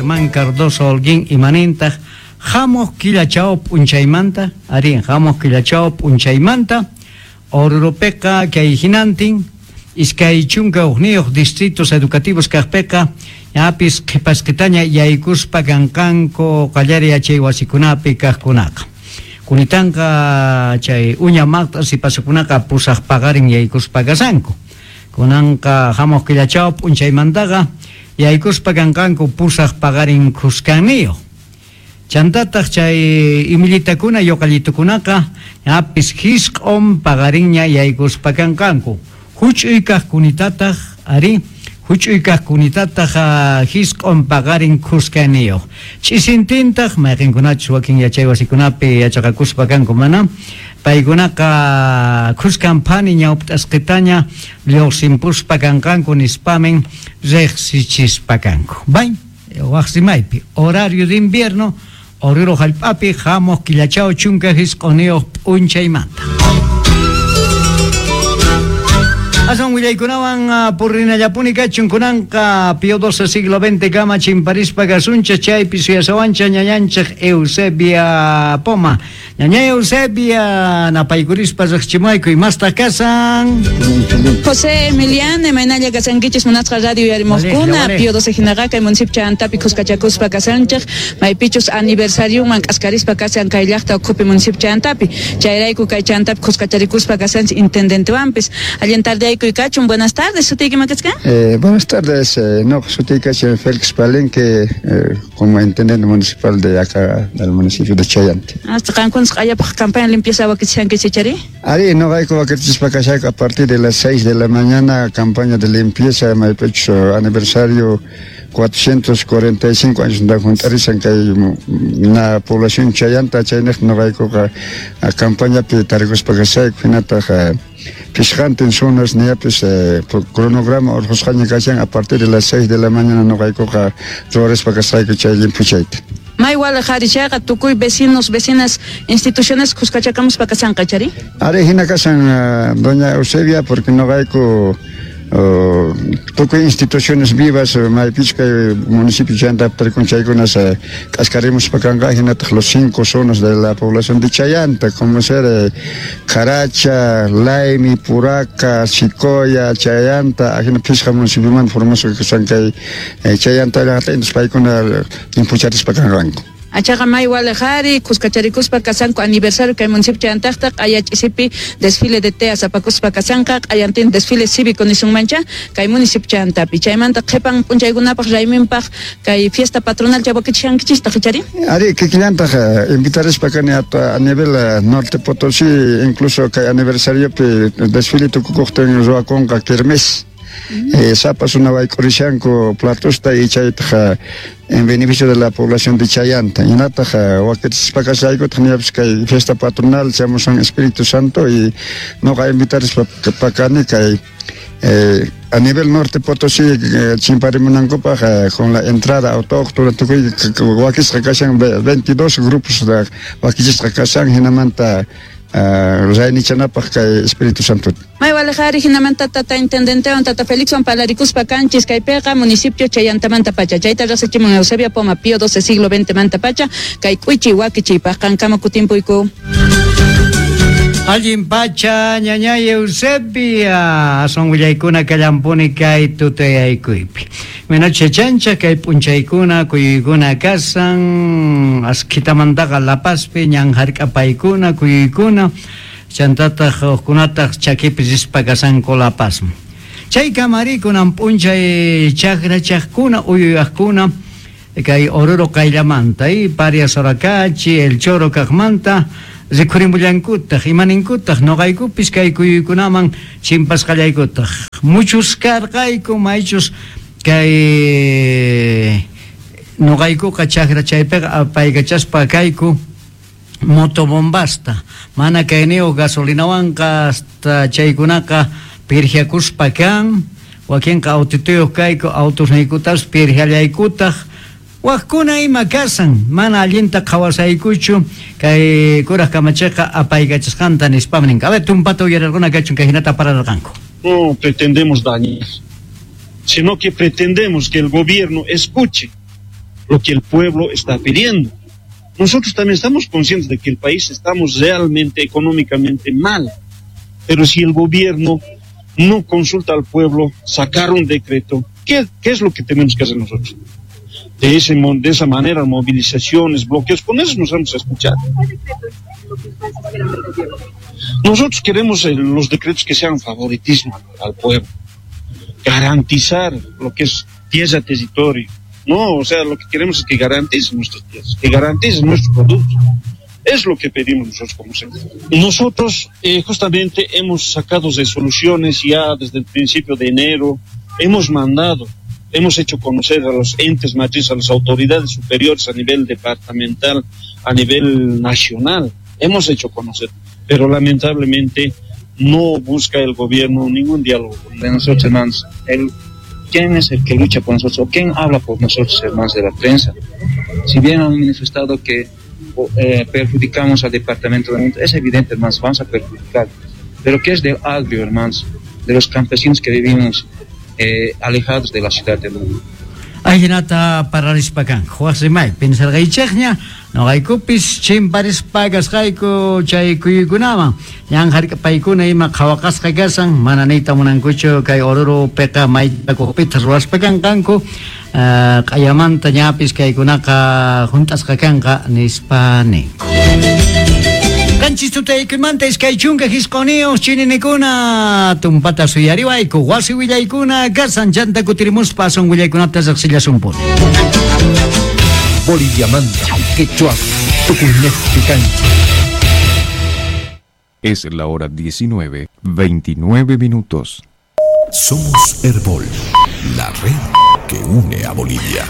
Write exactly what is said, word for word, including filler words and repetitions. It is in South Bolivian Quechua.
Germán Cardoso Holguín imanintaq hamuq killachaw p'unchaymanta, arí, hamuq killachaw p'unchaymanta Oruropiqa kay hinantin iskay chunka hukniyuq distritos educativos kaqpiqa ñapis qhipasqitaña yaykuspa kanqanku qallari yachay wasikunapi kaqkunaqa. Kunitanqa chay uña maqta sipasukunaqa pusaq paqarin yaykuspa kasanku. Kunanqa hamuq killachaw p'unchaymantaqa yaykuspa kanqanku pusaq paqarin khuskaniyuq. Chantataq chay imillitakuna yuqallitukunaqa ñapis hisq'un paqarinña yaykuspa kanqanku. Huch'uy kaqkunitataq arí, huch'uy kaqkunitataq hisq'un paqarin khuskaniyuq. Ch'isintintaq mayqinkunachus wakin yachay wasikunapi yachaqakuspa kanku mana, paykunaqa khuskan phani ñawp'tasqitaña lluqsinpuspa kanqanku nispamin riqsichispa kanku. Bay, waqsimaypi horario de invierno Oruro hallp'api hamuq killachaw chunka hisq'uniyuq p'unchaymanta. Asan willaykunawan purrinallapuni kachun kunanqa Pío doce siglo veinte kama chimparispa kasuncha chaypi suyasawancha ñañanchik Eusebia Poma. Ñaña Eusebia napaykurispa riqchimayku imastaq kasan. José Emiliano, imaynalla kasankichis munasqa radio yarimuqkuna Pío doce hinaqa kay municipio Chayantapi khuskachakuspa kasanchik maypichus aniversarioman k'askarispa kasan kay llaqta ukhupi municipio Chayantapi chayrayku kay Chayantapi khuskacharikuspa kasanchik intendentewanpis. Allin tarde. Buenas tardes, sutiyki makachkan. Eh, buenas tardes, eh, no, sutiyki Félix Palenque, eh, como intendente municipal de acá del municipio de Chayanta. Hasta qankunas q'allapaq campaña limpieza wakichishankichik chari? Ari, no hay wakichispa kashayku a partir de las seis de la mañana campaña de limpieza, maypichus aniversario cuatrocientos cuarenta y cinco años da juntarizan kay na población Chayanta chayniq noqaykuqa campañapi tarikuspa kashayku hinataq pishqantin zonas niyapis eh, cronograma urqusqaña kashan a partir de las seis de la mañana noqaykuqa ruwarispa kasqayku chay limpuchayta. May wala harichaqa tukuy vecinos, vecinas, instituciones khuskachakamuspa kasanqa chari? Ari hina kasan uh, doña Eusebia porque noqayku Uh, tukuy instituciones vivas maypichus kay municipio Chayanta tarikun chaykunas k'askarimuspa kanqa hinataq los cinco zonas de la población de Chayanta como ser eh, Caracha, Laimi, Puraca, Sicoya, Chayanta ajina phisqa municipiomanta formasqa kasan kay eh, Chayanta llaqta entonces paykuna limpucharispa kanqanku. Achaqa may walejari, khuskacharikuspa kasanku aniversario kay municipio Chayantaqta q'ayach'isipi desfile de teas apakuspa kasanqa q'ayantin desfile cívico nisunmancha kay municipio Chayantapi chaymanta qhipan p'unchaykunapaq rayminpaq kay fiesta patronal chawakichishankichistaq chari? Ari kikillantaq invitarispa kani a, a nivel norte Potosí incluso kay aniversariopi desfile tukukuqtin ruwakunqa kermés. Eh, sapa suna wayk'urishanku platosta y chaytaq en beneficio de la población de Chayanta. Hinataq wakichispa kashaykutaq niyapis kay fiesta patronal chamusan Espíritu Santo y noqa invitarispa pakani kay eh, a nivel norte Potosí eh, chimparimunankupaq eh, con la entrada autóctona tukuy wakisqa kashan veintidós grupos wakichisqa kashan hinamanta Uh, raynichanapaq kay Espíritu Santo. May walejari hinamanta tata intendentewan tata Felixwan palarikuspa kanchis kaypiqa municipio Chayantamanta pacha chayta rasichimun Eusebia Poma Pío doce siglo veinte manta pacha kay k'uichi wakichiypaq qankama kutimpuyku. Allin pacha ñañay Eusebia asun willaykuna kallampuni kay tutayaykuypi. Menoche chancha kay p'unchaykuna kuyuykuna kasan askhitamantaqa La Pazpi ñan hark'apaykuna kuyuykuna chantataq hukkunataq chakipi rispa kasanku La Pazman. Chay kamarikunan p'unchay chakrachaqkuna uyuyaqkuna kay Oruro qayllamanta y Paria Soracachi, El Choro kaqmanta rikhurimullankutaj imaninkutaq noqaykupis kay kuyuykunaman chimpasqallaykutaq muchus karqayku maychus kay noqaykuqa chakra chaypiqa apaykachaspa kayku motobombasta mana kayniyuq gasolinawanqa hasta chaykunaqa pirjiakuspa kan wakinqa autituyuq kayku autusniykutas pirjiallaykutaq wajkuna ima kasan mana allinta qhawasaykuchu kay kuraj kamachiqa apaykachasqanta nispam ninqa. A ver, tumpata uyararquna kachun kay hinata pararqanku. No pretendemos dañar, sino que pretendemos que el gobierno escuche lo que el pueblo está pidiendo. Nosotros también estamos conscientes de que el país estamos realmente económicamente mal, pero si el gobierno no consulta al pueblo, sacar un decreto, ¿qué, qué es lo que tenemos que hacer nosotros? De, ese, de esa manera, movilizaciones, bloqueos, con eso nos vamos a escuchar. Nosotros queremos los decretos que sean favoritismo al pueblo, garantizar lo que es tierra, territorio. No, o sea, lo que queremos es que garanticen nuestras tierras, que garanticen nuestros productos. Es lo que pedimos nosotros como sector. Nosotros eh, justamente hemos sacado resoluciones ya desde el principio de enero, hemos mandado, hemos hecho conocer a los entes matrices, a las autoridades superiores a nivel departamental, a nivel nacional, hemos hecho conocer, pero lamentablemente no busca el gobierno ningún diálogo. De nosotros, hermanos, el, ¿quién es el que lucha por nosotros o quién habla por nosotros, hermanos de la prensa? Si bien han manifestado que eh, perjudicamos al departamento de es evidente, hermanos, vamos a perjudicar, pero ¿qué es del agrio, hermanos, de los campesinos que vivimos eh, alejados de la ciudad del mundo? Ajinata pararispakan, Juasimay, pensarqaychikña, noqaykupis chimparispa kasqayku chay kuyuykunaman, ñan hark'apaykuna ima qhawaqasqa kasan, mana niyta munankuchu kay Oruropiqa maytakuqpita ruwaspa kanqanku, q'ayamanta ñapis kaykunaqa junt'asqa kanqa nispa ninku. Qanchis tutaykumanta iskay chunka hisquniyuq chininikuna tumpata suyariwayku wasi willaykuna kasan chanta kutirimuspa asun willaykunata riqsillasumpuni. Boliviamanta, Quechua, Tucumán, Cancha. Es la hora diecinueve, veintinueve minutos. Somos Herbol, la red que une a Bolivia.